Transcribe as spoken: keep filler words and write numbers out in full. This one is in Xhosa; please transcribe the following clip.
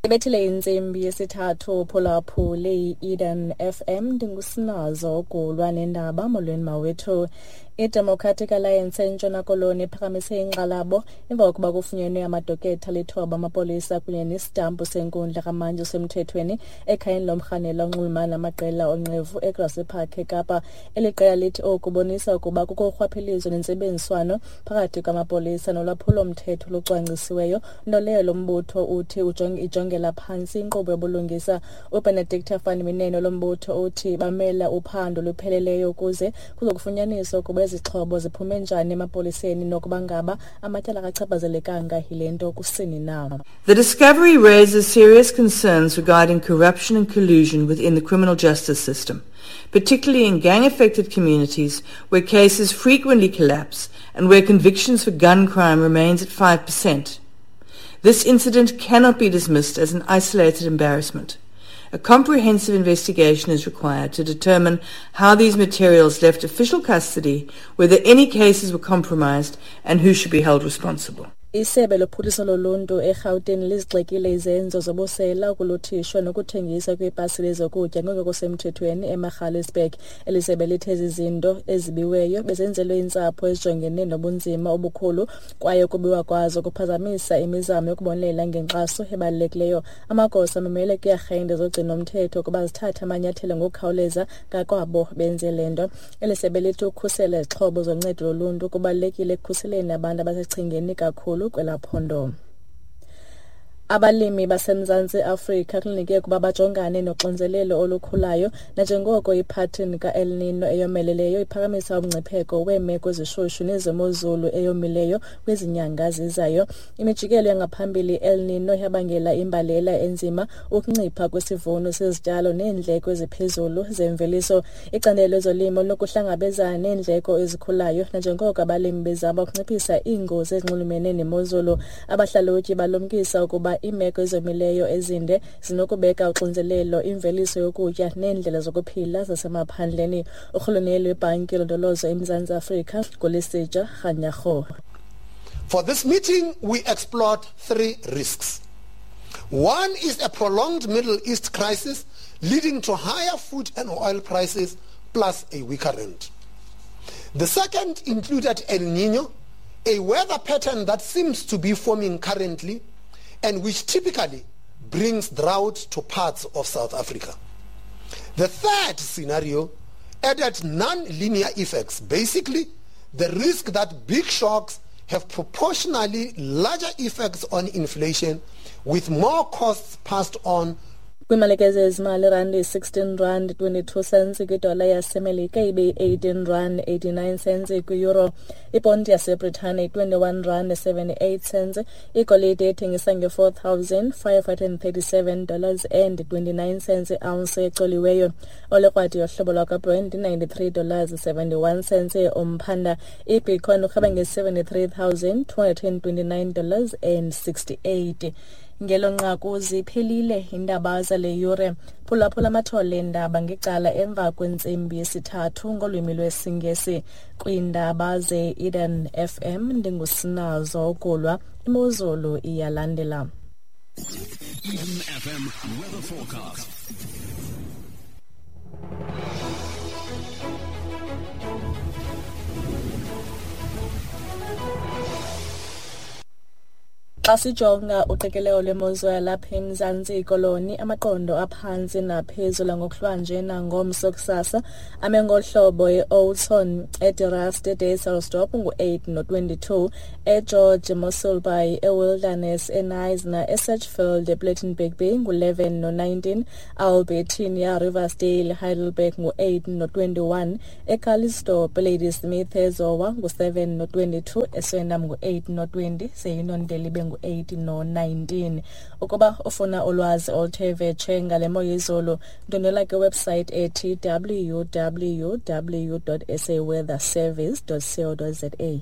Ibethile intsimbi yesithathu phulaphule i-Eden F M, ndingusinazo ugulwa nendaba. Molweni mawethu. I-Democratic Alliance eNtshona Koloni iphakamise inkxalabo emva kokuba kufunyenwe amadoketha alithoba amapolisa kunye nesitampu senkundla kamantyi osemthethweni ekhayeni lomrhanelwa onxulumana namaqela onqevu eGrassy Park eKapa. Eli qela lithi oku kubonisa ukuba kukho urhwaphilizo nentsebenziswano phakathi kwamapolisa nolwaphulo-mthetho olucwangcisiweyo, nto leyo lo mbutho uthi ijongela phantsi inkqubo yobulungisa. UBenedicta van Mineno lo mbutho uthi bamela uphando olupheleleyo ukuze kuzokufunyaniswa ukuba izixhobo ziphume njani emapoliseni nokuba ngaba amatyala akachaphazelekanga yile nto kusini na. The discovery raises serious concerns regarding corruption and collusion within the criminal justice system, particularly in gang-affected communities where cases frequently collapse and where convictions for gun crime remains at five percent. This incident cannot be dismissed as an isolated embarrassment. A comprehensive investigation is required to determine how these materials left official custody, whether any cases were compromised, and who should be held responsible. Isebe lophuhliso loluntu eGauteng lizigxekile izenzo zobusela, ukuluthishwa nokuthengisa kweepasile zokutya ngokusemthethweni eMagaliesburg. Eli sebe lithe ezi zinto ezibiweyo bezenzelwe iintsapho ezijongene nobunzima obukhulu kwaye ukubiwa kwazo kuphazamisa imizamo yokubonelela ngenkxaso ebalulekileyo. Amagosa amemele kwiiarhente zogcino-mthetho ukuba zithathe amanyathelo ngokukhawuleza ngakwabo benze le nto. Eli sebe lithi ukukhusela izixhobo zoncedo loluntu kubalulekile ekukhuseleni abantu abasesichengeni kakhulu kwelaphondo. Abalimi baseMzantsi Afrika kulindeleke ukuba bajongane noxinzelelo olukhulayo nanjengoko iphathini ka-El Nino eyomeleleyo iphakamisa umngcipheko weemeko ezishushu nezemozulu eyomileyo kwizinyanga zizayo. Imijikelo yangaphambili El Nino yabangela imbalela enzima, ukuncipha kwesivuno sezityalo neendleko eziphezulu zemveliso. Icandelo lezolimo linokuhlangabezana neendleko ezikhulayo nanjengoko abalimi bezama ukunciphisa iingozi ezinxulumene nemozulu. Abahlalutyi balumkisa ukuba iimeko ezomileyo ezinde zinokubeka uxinzelelo imveliso yokutya neendlela zokuphila zasemaphandleni. Urhuluneli webhanki yolondolozo eMzantsi Afrika nguLesetja Kganyago. For this meeting, we explored three risks. One is a prolonged Middle East crisis leading to higher food and oil prices plus a weaker rand. The second included El Niño, a weather pattern that seems to be forming currently and which typically brings drought to parts of South Africa. The third scenario added non-linear effects, basically the risk that big shocks have proportionally larger effects on inflation with more costs passed on. Kwimalike zezimali, irandi sixteen rand twenty-two cents kwidola yaseMelika, ibe eighteen rand eighty-nine cents kwi-euro. Iponti yaseBritane twenty-one rand seventy-eight cents. Igolide ethengisa nge-four thousand five hundred thirty-seven dollars and twenty-nine cents i-ounce ecoliweyo. Olekrwadi yohlobo lwakwaBrent ninety-three dollars seventy-one cents umphanda. IBitcoin urhweba nge-seventy-three thousand two hundred twenty-nine dollars and sixty-eight. Ngelo nqaku ziphelile iindaba zale yure. Phulaphula amathole eendaba ngecala emva kwentsimbi yesithathu ngolwimi lwesiNgesi. Kwiindaba ze-Eden F M ndingusinazo Ugulwa. Imozulu iyalandela. Eden F M weather forecast. Xa sijonga uqikelelo lwemozulu yalapha eMzantsi Koloni, amaqondo aphantsi naphezulu ngokuhlwanje nangomso kusasa ame ngohlobo e-Oudtshoorn, eDe-Rust, eDysselsdorp ngu-eight no-twenty-two, eGeorge, Mossel Bay, eWilderness, eKnysna, eSedgefield, ePlettenberg Bay ngu-eleven no-nineteen, Albertinia, Riversdale, Heidelberg ngu-eight no-twenty-one, eCallisto, Ladysmith, eZowa ngu-seven no-twenty-two, eSwellendam ngu-eight no-twenty, seYunondele ibe ngu-eight no-nineteen. Ukuba ufuna ulwazi oluthe vetshe ngale mo yezulu, ndwendwela kwiwebsite ethi w w w dot s a weather service dot co dot z a.